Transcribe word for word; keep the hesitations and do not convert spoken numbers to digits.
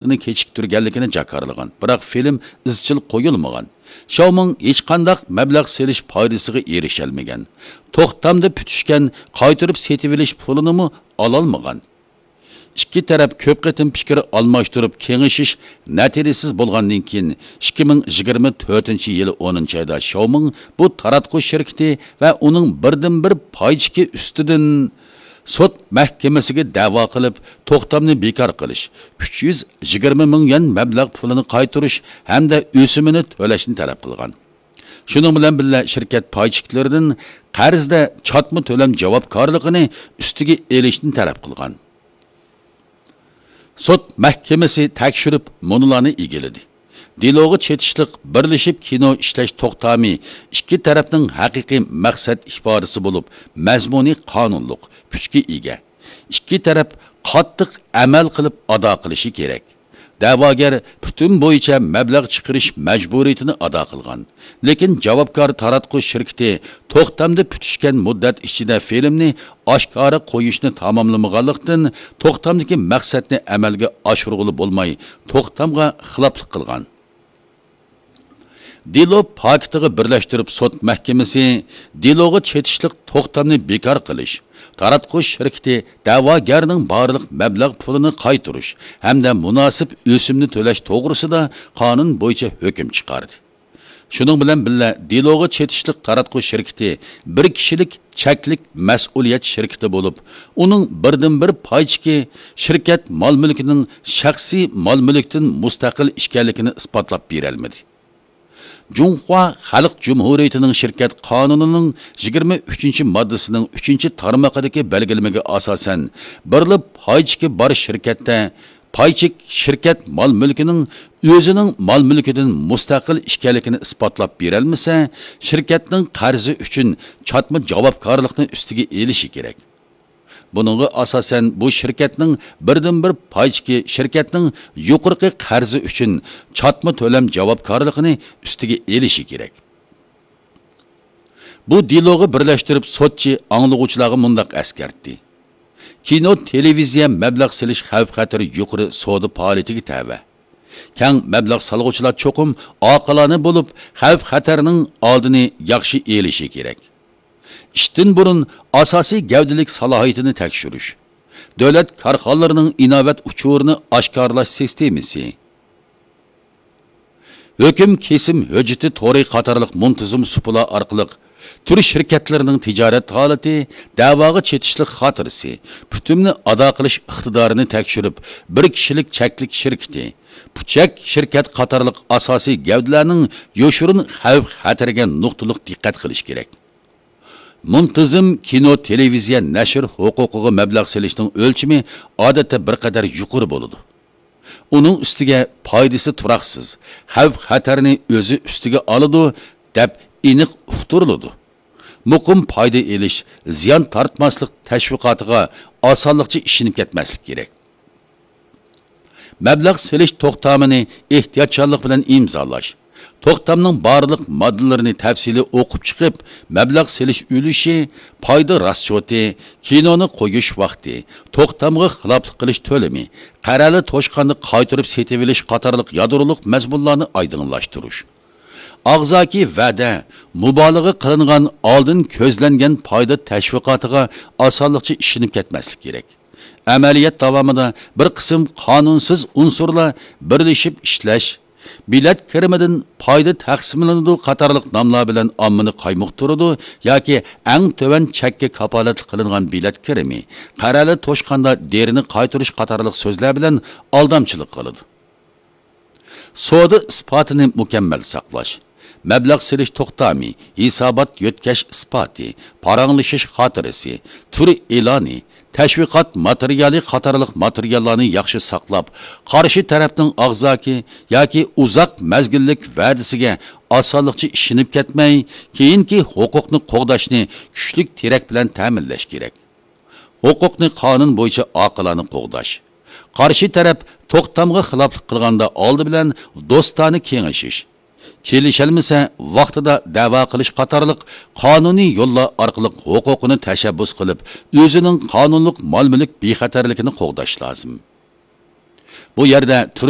كېچىكتۈرگەنلىكىنى جاكارلىغان، بىراق فىلىم ئىزچىل قويۇلمىغان. شاۋمىڭ ھېچقانداق مەبلەغ سېلىش پايدىسىغا ئېرىشەلمىگەن. توختامدا پۈتۈشكەن، قايتۇرۇپ سېتىۋېلىش پۇلىنىمۇ ئالالمىغان. ئىككى تەرەپ كۆپ قېتىم پىكىر ئالماشتۇرۇپ كېڭىشىش نەتىجىسىز بولغاندىن كېيىن، ئىككى مىڭ يىگىرمە تۆتىنچى يىلى ئونىنچى ئايدا شاۋمىڭ بۇ تاراتقۇ شىركىتى ۋە ئۇنىڭ بىردىنبىر پايچىكى ئۈستىدىن سوت مەھكىمىسىگە دەۋا قىلىپ، توختامنى بىكار قىلىش، ئۈچ يۈز يىگىرمە مىڭ يۈەن مەبلەغ پۇلىنى قايتۇرۇش ھەمدە ئۆسۈمىنى تۆلەشنى تەلەپ قىلغان. شۇنىڭ بىلەن بىللە، شىركەت پايچىكلىرىدىن قەرزدە چاتما تۆلەم جاۋابكارلىقىنى ئۈستىگە ئېلىشنى تەلەپ قىلغان. سوت مەھكىمىسى تەكشۈرۈپ مۇنۇلارنى ئىگىلىدى: دېلوغا چېتىشلىق بىرلىشىپ كىنو ئىشلەش توختامى ئىككى تەرەپنىڭ ھەقىقىي مەقسەت ئىپادىسى بولۇپ، مەزمۇنى قانۇنلۇق كۈچكە ئىگە. ئىككى تەرەپ قاتتىق ئەمەل قىلىپ ئادا قىلىشى كېرەك. دەۋاگەر پۈتۈن بويىچە مەبلەغ چىقىرىش مەجبۇرىيىتىنى ئادا قىلغان. لېكىن جاۋابكار تاراتقۇ شىركىتى توختامدا پۈتۈشكەن مۇددەت ئىچىدە فىلىمنى ئاشكارا قويۇشنى تاماملىمىغانلىقتىن، توختامدىكى مەقسەتنى ئەمەلگە ئاشۇرغىلى بولماي، توختامغا خىلاپلىق قىلغان. دېلو پاكىتىغا بىرلەشتۈرۈپ سوت مەھكىمىسى دېلوغا چېتىشلىق توختامنى بىكار قىلىش، تاراتقۇ شىركىتى دەۋاگەرنىڭ بارلىق مەبلەغ پۇلىنى قايتۇرۇش ھەمدە مۇناسىپ ئۆسۈمنى تۆلەش توغرىسىدا قانۇن بويىچە ھۆكۈم چىقاردى. شۇنىڭ بىلەن بىللە، دېلوغا چېتىشلىق تاراتقۇ شىركىتى بىر كىشىلىك چەكلىك مەسئۇلىيەت شىركىتى بولۇپ، ئۇنىڭ بىردىنبىر پايچىكى شىركەت مال-مۈلكىنىڭ شەخسىي مال-مۈلۈكتىن مۇستەقىل ئىكەنلىكىنى ئىسپاتلاپ بېرەلمىدى. جۇڭخۇا خەلق جۇمھۇرىيىتىنىڭ شىركەت قانۇنىنىڭ يىگىرمە ئۈچىنچى ماددىسىنىڭ ئۈچىنچى تارمىقىدىكى بەلگىلىمىگە ئاساسەن، بىرلا پايچىكى بار شىركەتتە پايچىك شىركەت مال-مۈلكىنىڭ ئۆزىنىڭ مال-مۈلكىدىن مۇستەقىل ئىكەنلىكىنى ئىسپاتلاپ بېرەلمىسە، شىركەتنىڭ قەرزى ئۈچۈن چاتما جاۋابكارلىقنى ئۈستىگە ئېلىشى كېرەك. بۇنىڭغا ئاساسەن، بۇ شىركەتنىڭ بىردىنبىر پايچىكى شىركەتنىڭ يۇقىرىقى قەرزى ئۈچۈن چاتما تۆلەم جاۋابكارلىقىنى ئۈستىگە ئېلىشى كېرەك. بۇ دېلوغا بىرلەشتۈرۈپ سوتچى ئاڭلىغۇچىلارغا مۇنداق ئەسكەرتتى: كىنو، تېلېۋىزىيە مەبلەغ سېلىش خەۋپ-خەتىرى يۇقىرى سودا پائالىيىتىگە تەۋە. كەڭ مەبلەغ سالغۇچىلار چوقۇم ئاقىلانە بولۇپ، خەۋپ-خەتەرنىڭ ئالدىنى ياخشى ئېلىشى كېرەك. ئىشتىن بۇرۇن ئاساسىي گەۋدىلىك سالاھىيىتىنى تەكشۈرۈش، دۆلەت كارخانىلىرىنىڭ ئىناۋەت ئۇچۇرىنى ئاشكارىلاش سىستېمىسى، ھۆكۈم كېسىم ھۆججىتى تورى قاتارلىق مۇنتىزىم سۇپىلار ئارقىلىق تۈر شىركەتلىرىنىڭ تىجارەت ھالىتى، دەۋاغا چېتىشلىق خاتىرىسى، پۈتۈمنى ئادا قىلىش ئىقتىدارىنى تەكشۈرۈپ، بىر كىشىلىك چەكلىك شىركىتى، پۇچەك شىركەت قاتارلىق ئاساسىي گەۋدىلەرنىڭ يوشۇرۇن خەۋپ-خەتىرىگە نۇقتىلىق دىققەت قىلىش كېرەك. مۇنتىزىم كىنو، تېلېۋىزىيە، نەشر ھوقۇقىغا مەبلەغ سېلىشنىڭ ئۆلچىمى ئادەتتە بىر قەدەر يۇقىرى بولىدۇ. ئۇنىڭ ئۈستىگە پايدىسى تۇراقسىز، خەۋپ-خەتەرنى ئۆزى ئۈستىگە ئالىدۇ، دەپ ئېنىق ئۇقتۇرۇلىدۇ. مۇقىم پايدا ئېلىش، زىيان تارتماسلىق تەشۋىقاتىغا ئاسانلىقچە ئىشىنىپ كەتمەسلىك كېرەك. مەبلەغ سېلىش توختامىنى ئېھتىياتچانلىق بىلەن ئىمزالاش، توختامنىڭ بارلىق ماددىلىرىنى تەپسىلىي ئوقۇپ چىقىپ، مەبلەغ سېلىش ئۈلۈشى، پايدا راسچوتى، كىنونى قويۇش ۋاقتى، توختامغا خىلاپلىق قىلىش تۆلىمى، قەرەلە توشقاندا قايتۇرۇپ سېتىۋېلىش قاتارلىق يادرولۇق مەزمۇنلارنى ئايدىڭلاشتۇرۇش. ئاغزاكى ۋەدە، مۇبالىغە قىلىنغان ئالدىن كۆزلەنگەن پايدا تەشۋىقاتىغا ئاسانلىقچە ئىشىنىپ كەتمەسلىك كېرەك. ئەمەلىيەت داۋامىدا بىر قىسىم قانۇنسىز ئۇنسۇرلار بىرلىشىپ ئىشلەش، بېلەت كىرىمىدىن پايدا تەقسىملىنىدۇ قاتارلىق ناملار بىلەن ئاممىنى قايمۇقتۇرىدۇ ياكى ئەڭ تۆۋەن چەككە كاپالەتلىك قىلىنغان بېلەت كىرىمى، قەرەلە توشقاندا دېرىنى قايتۇرۇش قاتارلىق سۆزلەر بىلەن ئالدامچىلىق قىلىدۇ. سودا ئىسپاتىنى مۇكەممەل ساقلاش، مەبلەغ سېلىش توختامى، ھېسابات يۆتكەش ئىسپاتى، پاراڭلىشىش خاتىرىسى، تۈر ئېلانى، تەشۋىقات ماتېرىيالى قاتارلىق ماتېرىياللارنى ياخشى ساقلاپ، قارشى تەرەپنىڭ ئاغزاكى ياكى ئۇزاق مەزگىللىك ۋەدىسىگە ئاسانلىقچە ئىشىنىپ كەتمەي، كېيىنكى ھوقۇقنى قوغداشنى كۈچلۈك تىرەك بىلەن تەمىنلەش كېرەك. ھوقۇقنى قانۇن بويىچە ئاقىلانە قوغداش. قارشى تەرەپ توختامغا خىلاپلىق قىلغاندا ئالدى بىلەن دوستانە كېڭىشىش. كېلىشەلمىسە، ۋاقتىدا دەۋا قىلىش قاتارلىق قانۇنىي يوللار ئارقىلىق ھوقۇقىنى تەشەببۇس قىلىپ، ئۆزىنىڭ قانۇنلۇق مال-مۈلۈك بىخەتەرلىكىنى قوغداش لازىم. بۇ يەردە تۈرلۈك